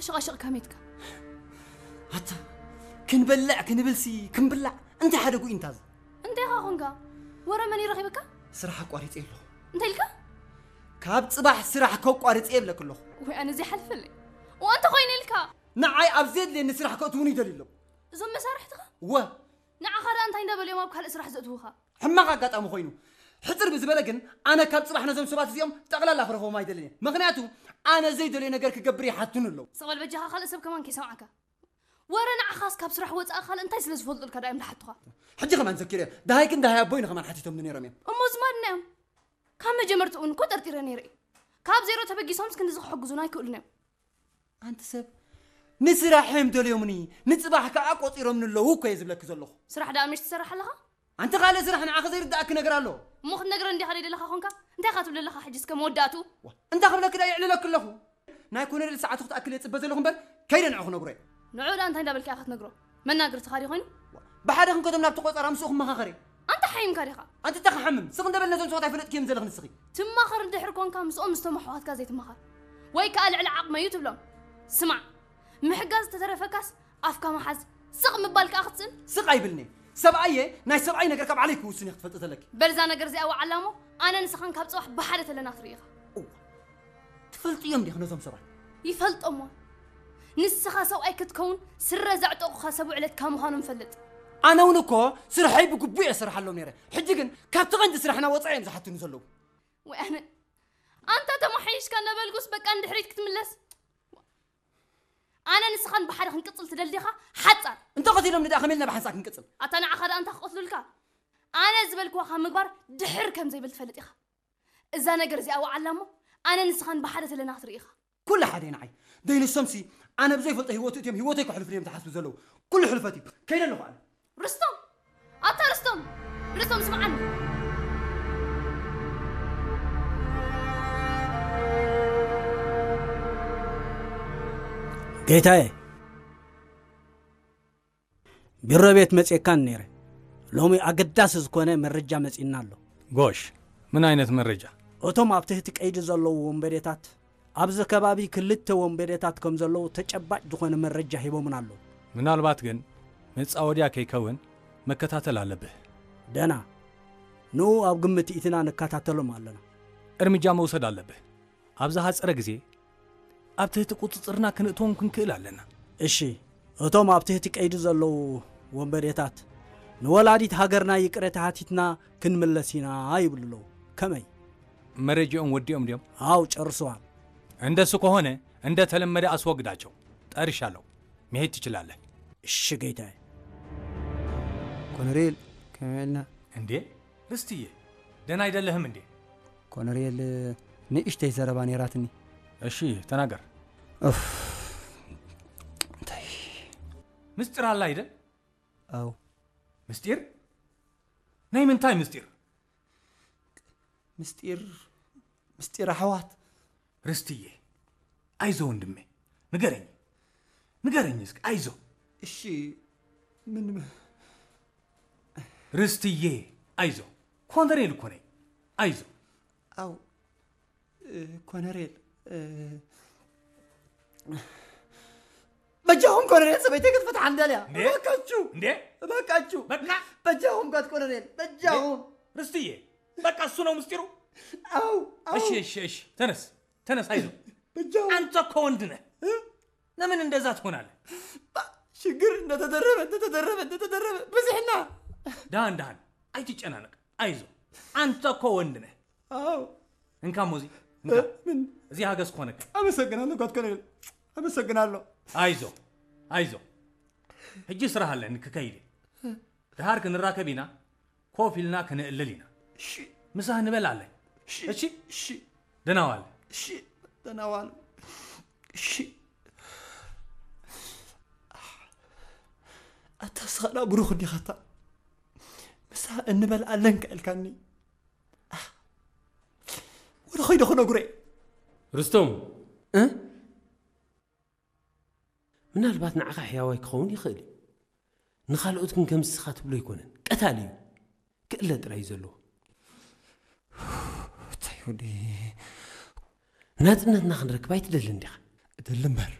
ሽቓሽቕ ከመይትካ? ኣታ ክንበልዕ ክንብልሲ ክንብላዕ እንታይ ሓደ ጉኢ እንታዝ እንታይ ኢኻ ኾንካ? ወረ መን ይረኺብካ? ስራሕ ኣቋሪፀ ኣለኹ። እንታይ ኢልካ? ካብ ፅባሕ ስራሕ ከቋርፀ የብለክ ኣለኹ። ወይ ኣነ ዘይሓልፈልይ። ወ እንተ ኮይነ ኢልካ? ንዓይ ኣብ ዘድልየኒ ስራሕ ከእትውኒ ይደልዩ ኣለዉ። እዞም መሳርሕትኻ? ወ ንዓኻ ደኣ እንታይ እንዳበሉ እዮም ኣብ ካልእ ስራሕ ዘእትዉኻ? ሕማቕ ኣጋጣሚ ኮይኑ ሕፅር ብዝበለ ግን ኣነ ካብ ፅባሕ ነዞም ሰባት እዚኦም ጠቕላላ ክረኽቦም ኣይደልን እየ። ምኽንያቱ ኣነ ዘይደልዮ ነገር ክገብር ይሓቱን ኣለዉ። ስቕ በል በጃኻ ካልእ ሰብ ከማን ከይሰምዓካ። ወረ ንዓኻስ ካብ ስራሕ ወፃእ ካልእ እንታይ ስለ ዝፈልጡልካ ደኣ እዮም ዝሓቱኻ? ሕጂ ከማን ዘኪረ ደሃይክን ደሃይ ኣቦይን ከማን ሓቲቶምኒ ነይሮም እዮም። እሞ ዝማድና እዮም። ካብ መጀመርትኡ እውን እኮ ጠርጢረ ነይረ እዩ። ካብ ዜሮ ተበጊሶምስ ክንድዚ ክሕግዙና ኣይክእሉን እዮም። ኣንቲ ሰብ ንስራሕ እዮም ደልዮምኒ ንፅባሕ ከዓ ቆፂሮምኒ ኣለዉ እኮ እየ ዝብለኪ ዘለኹ። ስራሕ ደኣ ምሽ ትሰርሕ ኣለኻ? ኣንቲ ካልእ ስራሕ ንዓኺ ዘይርድኣኪ ነገር ኣሎ። እሞ ክትነግረኒ ዲኻ ደይ ደለኻ ኾንካ? እንታይ ኢኻ ትብል ዘለኻ ሕጂ እስከ መወዳእትኡ? እንታይ ክብለኪ ደኣ የዕልለኪ ኣለኹ። ናይ ኮነሬል ሰዓቱ ክትኣክል እየ ፅበ ዘለኹ እምበር ከይደ ንዑ ክነግሮ እየ። ንዑ ደኣ እንታይ እንዳበልካ ኢኻ ክትነግሮ? መናግርትኻ ድዩ ኮይኑ? ብሓደ ክንከዶም ናብቲ ቆፀራ ምስኡ ክመኻኸር እየ። ኣንታ ሓሚምካ ዲኻ? ኣንቲ እንታይ ክሓምም? ስቕ እንደ በልና እዞም ሰባት ኣይፈለጥክዮም ዘለኽ ንስኺ። ትማኸር እንድሕር ኮንካ ምስኦም ምስቶም ኣሕዋትካ ዘይትማኸር። ወይ ከኣ ልዕሊ ዓቕመይ እዩ ትብሎም። ስማዕ፣ ምሕጋዝ ዝተረፈካስ ኣፍካ ምሓዝ፣ ስቕ ምባል ከኣ ክትስእን። ስቕ ኣይብልን እየ። ሰብኣይ እየ፣ ናይ ሰብኣይ ነገር ካብ ዓለይ ክውስን እየ ክትፈልጢ ዘለኪ። በል እዛ ነገር እዚኣ ወዓላ እሞ ኣነ ንስኻን ካብ ጽባሕ ብሓደ ተለና ክትርኢ ኢኻ። እዋ፣ ትፈልጥዮም ዲኺ ነዞም ሰባት? ይፈልጦም እዋ። ንስኻ ሰብኣይ ክትከውን ስረ ዘዕጠቑኻ ሰብ ውዕለትካ ምዃኖም ፈልጥ። ኣነ እውን እኮ ስርሐይ ብግቡእ እየ ዝሰርሓሎም ነይረ። ሕጂ ግን ካብቲ ቀንዲ ስራሕና ወፃኢ እዮም ዝሓቱኒ ዘለዉ። ወይ ኣነ ኣንታ ተማሓይሽካ እናበልኩስ በቃ ንድሕሪት ክትምለስ። ኣነ ንስኻን ብሓደ ክንቅፅል ትደሊ ዲኻ? ሓፃር። እንተቐቲሎምኒ ደኣ ከመይ ኢልና ብሓንሳእ ክንቅፅል? ኣታ ንዓኻ ደኣ እንታ ክቐትሉልካ? ኣነ ዝበልክዋ ካብ ምግባር ድሕር ከም ዘይብል ትፈልጥ ኢኻ። እዛ ነገር እዚኣ ወዓላ እሞ ኣነ ንስኻን ብሓደ ተለና ክትርኢ ኢኻ። ኩሉ ሓደ እዩ ንዓይ። ደይ ንሶምሲ ኣነ ብዘይፈልጦ ህይወቱ እትዮም ህይወተይ ከሕልፉ እዮም ዝሓስቡ ዘለዉ። ኩሉ ሕልፈት እዩ። ከይደ ኣለኹ ኣነ። ርስቶም! ኣታ ርስቶም! ርስቶም ስምዓኒ። ጌታዬ፣ ቢሮ ቤት መጺኤካን ነይረ። ሎሚ ኣገዳሲ ዝኾነ መረጃ መጺእና ኣሎ። ጎሽ፣ ምን ዓይነት መረጃ? እቶም ኣብ ትሕቲ ቀይዲ ዘለዉ ወንበዴታት ኣብዚ ከባቢ ክልተ ወንበዴታት ከም ዘለዉ ተጨባጭ ዝኾነ መረጃ ሂቦምና ኣለዉ። ምናልባት ግን መጻወድያ ከይከውን መከታተል ኣለብህ። ደና፣ ንኡ ኣብ ግምት እቲና ንከታተሎም ኣለና። እርምጃ መውሰድ ኣለብህ። ኣብ ዝሓጸረ ግዜ ኣብ ትሕቲ ቁጽጽርና ክነእትዎም ክንክእል ኣለና። እሺ፣ እቶም ኣብ ትሕቲ ቀይዲ ዘለዉ ወንበዴታት ንወላዲት ሃገርና ይቅሬታ ሓቲትና ክንምለስ ኢና ይብሉ ኣለዉ። ከመይ? መረጃኦም ወዲኦም ድዮም? ኣው ጨርሰዋል። እንደሱ ከሆነ እንደተለመደ ኣስወግዳቸው። ጠርሻለሁ። መሄድ ትችላለህ። እሺ ጌታዬ። ኮነሬል ከመይ ኢልና? እንዴ ርስትዬ ደህና አይደለህም እንዴ? ኮነሬል ንእሽተይ ዘረባ ነይራትኒ። እሺ ተናገር። ኡፍ እንታይ ምስጢር ኣላ አይደል? ኣው ምስጢር? ናይ ምንታይ ምስጢር? ምስጢር ምስጢር ኣሕዋት። ርስትዬ ኣይዞ ወንድሜ ንገረኝ ንገረኝ እስኪ ኣይዞ። እሺ ምን ርስትዬ ኣይዞ ኮነሬል እኮ ነኝ ኣይዞ። ኣው ኮነሬል በጃኹም ኮነሬል ሰበይተይ ክትፈትሓ እንደልያ እባካችሁ እንዴ እባካችሁ በቃ በጃኹም ጋት ኮነሬል በጃኹም ርስትዬ በቃ እሱ ነው ምስጢሩ። አው አው እሺ እሺ እሺ ተነስ ተነስ አይዞ በጃው አንተ እኮ ወንድ ነህ። ለምን እንደዛ ትሆናለህ? ሽግር እንደተደረበ እንደተደረበ እንደተደረበ ብዝሕና ዳን ዳን አይትጨናነቅ አይዞ አንተ እኮ ወንድ ነህ። አው እንካ ሞዚ እንካ ምን እዚህ ሀገዝ ኮነክ አመሰግናለሁ። ጋት ኮነሬል አመሰግናለሁ። አይዞ አይዞ ሕጂ ስራሕ ኣለኒ ክከይድ እየ። ድሓር ክንራከብ ኢና ኮፍ ኢልና ክነእልል ኢና። እሺ ምሳህ ንበል ኣለኝ። እሺ እሺ ደህና ዋል። እሺ ደህና ዋል። እሺ ኣታ ስኻላ ብሩኽ እንዲኻታ ምሳህ እንበል ኣለንካ ኢልካኒ ወደ ኸይደ ክነግሮ እየ። ርስቶም ምናልባት ንዓኻ ሕያዋይ ክኸውን ይኽእል እዩ። ንኻልኦት ግን ከምዚ እስኻ ትብሎ ኣይኮነን። ቀታሊ እዩ። ክእለ ጥራይ እዩ ዘለዎ። እንታይ ወዲ ናጽነትና ክንረክብ ኣይትደልን ዲኻ? እደሊ እምበር።